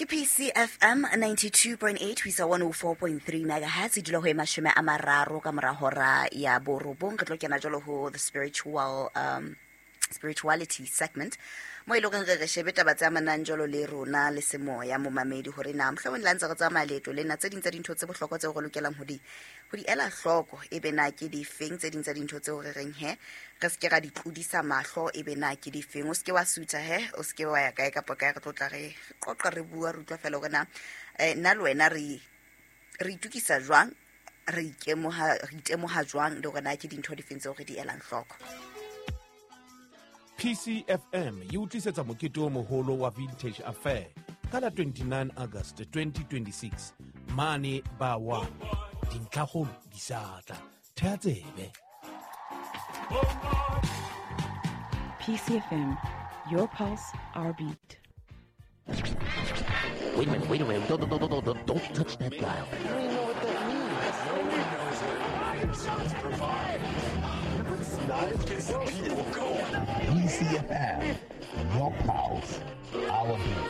Ke PCFM 92.8 ho isa 104.3 megahertz, e dula ho e 30 ka mora hora ya borobong. Re tlo kena jalo ho the spiritual spirituality segment, mo e leng gore re re shebe taba tse amanang jalo le rona le semoya, momamedi, gore na mohlomong le ha ntse re tsamaya leeto lena, tse ding tsa dintho tse bohlokwa tseo re lokelang ho di ela hloko e be na ke difeng, tse ding tsa dintho tseo re reng he re se ke ra di tlodisa mahlo e be na ke difeng. O se ke wa sutha he, o se ke wa ya kae kapa kae, re tlo tla re qoqa, re bua, re utlwa fela hore na nna le wena re itukisa jwang, re ikemoha, re itemoha jwang, le hore na ke dintho difeng tseo re di elang hloko. PCFM e o tlisetsa mokete o moholo wa Vintage Affair ka la 29 August 2026 mane ba wa dintlhakgolo di sa tla thea tsebe. PCFM, your pulse, our beat. Wait a minute, wait a minute. Don't, don't, don't, don't, don't touch that dial. You don't even know what that means. No one knows what it means. Not if this people go. PCFM, your pulse, our beat.